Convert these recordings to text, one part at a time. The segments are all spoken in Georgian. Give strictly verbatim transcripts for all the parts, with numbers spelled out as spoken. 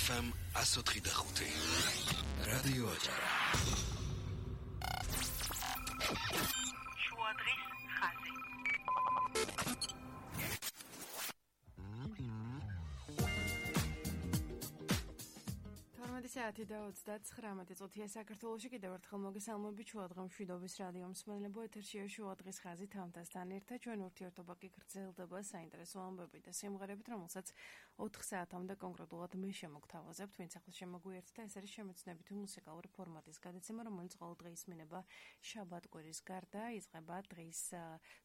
ეფ ემ one oh five. რადიო აჭარა. შუადღის ხაზი. თორმეტი საათი და ოცდაცხრამეტი წუთია საქართველოში. კიდევ ერთხელ მოგესალმებით შუადღე მშვიდობის რადიო მსმენელებო, ეთერშია შუადღის ხაზი თამთასთან ერთად. ჩვენ ურთიერთობა კი გრძელდება საინტერესო ამბებით და სიმღერებით, რომელსაც ოთხ საათამდე კონკრეტულად მე შემოგთავაზებთ, ვინც ახლა შემოგვიერთდა. ეს არის შემეცნებითი მუსიკალური ფორმატის გადაცემა, რომელიც ყოველდღე ისმინება შაბათ-კვირის გარდა, იწყება დღის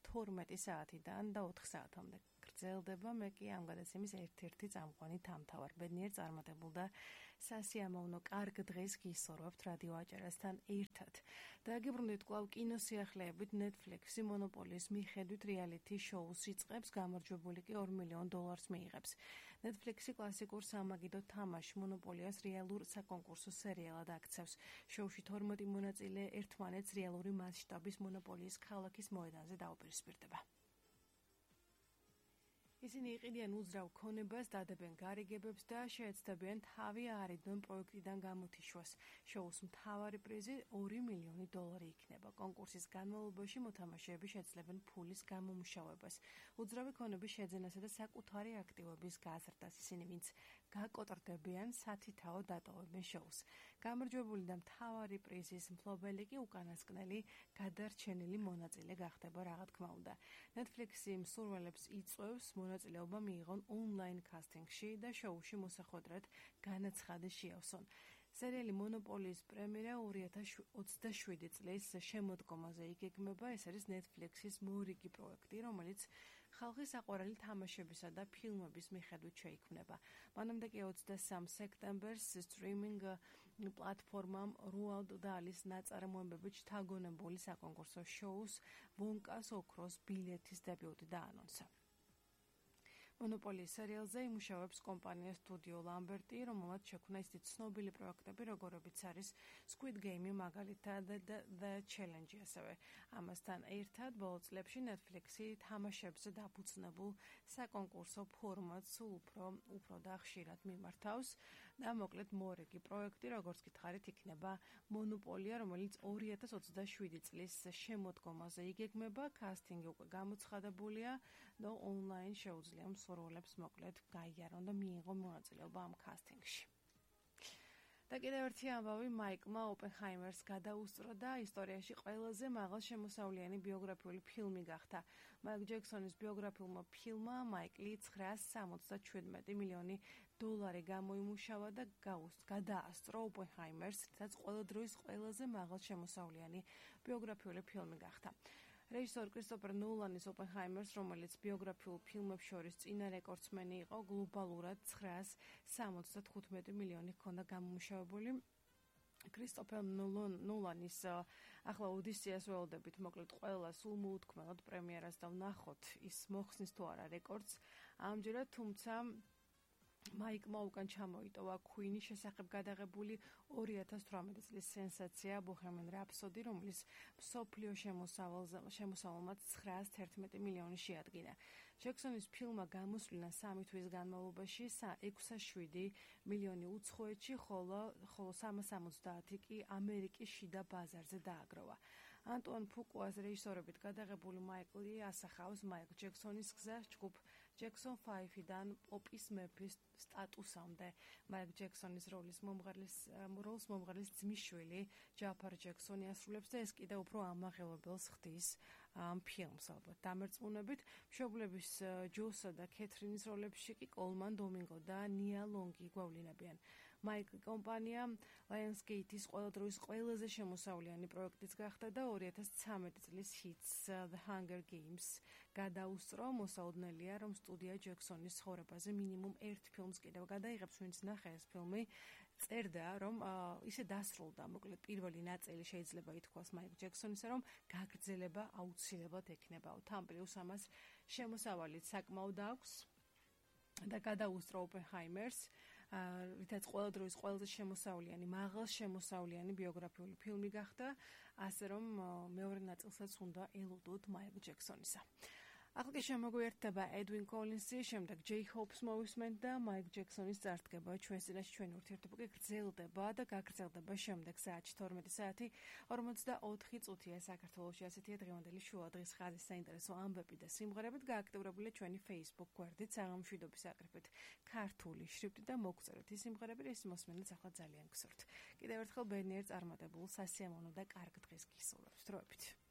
თორმეტი საათიდან და ოთხ საათამდე. გრძელდება. მე კი ამ გადაცემის ერთ-ერთი წამყვანი თამთავარ. ბედნიერ წარმატებულ და სასიამოვნო კარგ დღეს გისურვებთ რადიო აჭარასთან ერთად. დაგიბრუნდით კვლავ კინოსიახლეებით. Netflix-ი მონოპოლიის მიხედვით რეალიტი შოუს იწყებს, გამარჯვებული კი ორ მილიონ დოლარს მიიღებს. Netflix-ი კლასიკურ სამაგიდო თამაშ მონოპოლიას რეალურ საკონკურსო სერიალად აქცევს. შოუში თორმეტი მონაწილე ერთმანეთს რეალური მასშტაბის მონოპოლიის ქალაქის მოედანზე დაუპირისპირდება. ისინი იყიდიან უძრავ ქონებას, დადებენ გარიგებებს და შეეცდებიან თავი არიდონ პროექტიდან გამოთიშვას. შოუს მთავარი პრიზი ორი მილიონი დოლარი იქნება. კონკურსის განმავლობაში მოთამაშეები შეძლებენ ფულის გამომუშავებას, უძრავი ქონების შეძენასა და საკუთარი აქტივობის გაზრდას. ისინი, ვინც გაკოტრდებიან, სათითაო დატოვებენ შოუს. გამარჯვებული და მთავარი პრიზის მფლობელი კი უკანასკნელი გადარჩენილი მონაწილე გახდება, რა თქმა უნდა. Netflix-ი მსურველებს იწვევს მონაწილეობა მიიღონ ონლაინ კასტინგში და შოუში მოსახვედრად განაცხადეს შეავსონ. სერიალი მონოპოლიის პრემიერა ორი ათას ოცდაშვიდი წლის შემოდგომაზე იგეგმება. ეს არის Netflix-ის მორიგი პროექტი, რომელიც ხალხის საყვარელი თამაშებისა და ფილმების მიხედვით შეიქმნება. მანამდე კი ოცდასამ სექტემბერს სტრიმინგ პლატფორმამ Roald Dahl-ის ნაწარმოებებით შთაგონებული საკონკურსო შოუს ვონკას ოქროს ბილეთის დებიუტი დაანონსა. მონოპოლიის სერიალზე იმუშავებს კომპანია სტუდიო ლამბერტი, რომელმაც შექმნა ისეთი ცნობილი პროექტები, როგორებიც არის Squid Game, მაგალითად და The Challenge ასევე. ამასთან ერთად ბოლო წლებში Netflix-ი თამაშებზე დაფუძნებულ საკონკურსო ფორმატს სულ უფრო უფრო და ხშირად მიმართავს და მოკლედ მორიგი პროექტი, როგორც გითხარით, იქნება მონოპოლია, რომელიც ორი ათას ოცდაშვიდი წლის შემოდგომაზე იგეგმება. კასტინგი უკვე გამოცხადებულია და ონლაინ შეუძლია მსურველებს მოკლედ გაიარონ და მიიღონ მონაწილეობა ამ კასტინგში. და კიდევ ერთი ამბავი, მაიკლმა ოპენჰაიმერს გადაუსწრო და ისტორიაში ყველაზე მაღალშემოსავლიანი ბიოგრაფიული ფილმი გახდა. მაიკლ ჯექსონის ბიოგრაფიულმა ფილმმა მაიკლი ცხრაას სამოცდაშვიდმეტი მილიონი დოლარი გამოიმუშავა და გადაასწრო ოპენჰაიმერს, რაც ყველა დროის ყველაზე მაღალშემოსავლიანი ბიოგრაფიული ფილმი გახდა. რეჟისორ კრისტოფერ ნოლანის ოპენჰაიმერს, რომელიც ბიოგრაფიულ ფილმებს შორის წინა რეკორდსმენი იყო, გლობალურად ცხრაას სამოცდათხუთმეტი მილიონი ჰქონდა გამომუშავებული. კრისტოფერ ნოლანის ახლა ოდისეას ველოდებით, მოკლედ ყველა სულ მოუთქმელად პრემიერას და ვნახოთ ის მოხსნის თუ არა რეკორდს ამჯერად, თუმცა მაიკმა უკან ჩამოიტოვა Queen-ის შესახებ გადაღებული ორი ათას თვრამეტი წლის სენსაცია Bohemian Rhapsody, რომლის მსოფლიო შემოსავალმაც ცხრაას თერთმეტი მილიონი შეადგინა. ჯექსონის ფილმმა გამოსვლინა სამი თვის განმავლობაში ექვსასაშვიდი მილიონი უცხოეთში, ხოლო სამას სამოცდაათი კი ამერიკის შიდა ბაზარზე დააგროვა. ანტუან ფუკუას რეჟისორობით გადაღებული მაიკლი ასახავს მაიკლ ჯექსონის გზას ჯგუფ Jackson five-დან პოპის მეფის სტატუსამდე. მაიკლ ჯექსონის როლის მომღერლის როლს მომღერლის ძმისშვილი ჯაფარ ჯექსონი ასრულებს და ეს კიდევ უფრო ამაღელებელს ხდის ამ ფილმს ალბათ. დამერწმუნებით, მშობლების ჯოსა და კეთრინის როლებში კი კოლმან დომინგო და ნია ლონგი გვავლინებიან. მაიკლ კომპანია Lionsgate-ის ყველა დროის ყველაზე შემოსავლიანი პროექტიც გახდა და ორი ათას ცხრამეტი წლის ჰიტს The Hunger Games გადაუსწრო. მოსაოდნელია, რომ სტუდია ჯექსონის ცხოვრებაზე მინიმუმ ერთ ფილმს კიდევ გადაიღებს, ვინც ნახე ეს ფილმი, წერდა, რომ ისე დასრულდა, მოკლედ პირველი ნაწილი შეიძლება ითქვას მაიკლ ჯექსონისა, რომ გაგრძელება აუცილებლად ექნებაო. თან პლუს ამას შემოსავალიც საკმაოდ აქვს და გადაუსწრო ოპენჰაიმერს, რითაც ყველა დროის ყველაზე შემოსავლიანი, მაღალ შემოსავლიანი ბიოგრაფიული ფილმი გახდა, ასე რომ მეორე ნაწილსაც უნდა ელოდოთ მაიკლ ჯექსონისა. ახლა შემოგვიერთდება Edwin Collins-ი, შემდეგ Jay Hope's მოვისმენთ და Mike Jackson-ის წარდგება ჩვენს წინაშე. ჩვენი ურთიერთობა კი გრძელდება და გაგრძელდება შემდეგ საათში თორმეტი საათი ორმოცდაოთხი წუთია საქართველოში. ასეთია დღევანდელი შუა დღის ხაზის საინტერესო ამბები და სიმღერებით. გააქტიურებულია ჩვენი Facebook გვერდით საღამოშვიდობის აკრიფით ქართული შრიფტით და მოგწერეთ ის სიმღერები, რის მოსმენაც ახლა ძალიან გსურთ. კიდევ ერთხელ ბედნიერ წარმატებულ სასიამოვნო და კარგ დღეს გისურვებთ. დროებით.